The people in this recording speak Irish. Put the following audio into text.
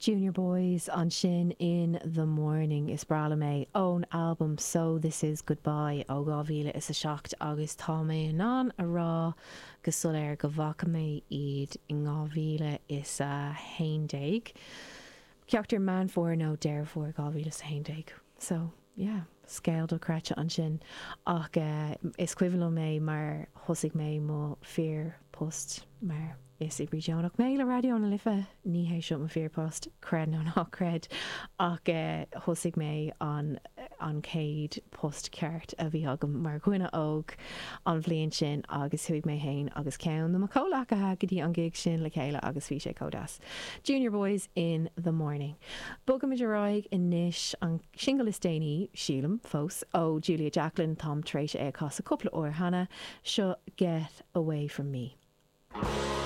Junior Boys ansin In The Morning, is breá liom é, ón albam So This Is Goodbye ó 2007 agus tá mé in ann a rá go soiléir go bhfaca mé iad in 2011, ceachtar Meán Fómhair nó Deireadh Fómhair 2011. So, yeah, scéal dochreidte ansin ach is cuimhin liom é mar thosaigh mé mo fíor post mar is oibrí deonach mé le Raidió na Life, ní hé seo mo fíor post, creid nó ná creid, ach thosaigh mé an an chéad post ceart a bhí agam mar dhuine óg an bhliain sin agus chuaigh mé féin agus ceann de mo chomhleacaithe go dtí an gig sin le chéile agus bhí sé chomh deas. Junior Boys in the morning. Bogaimid ar aghaidh anois, an singil is déanaí, sílim, fós, ó Julia Jacklin, táim tar éis é a chasadh cúpla uair cheana, seo Get Away From Me.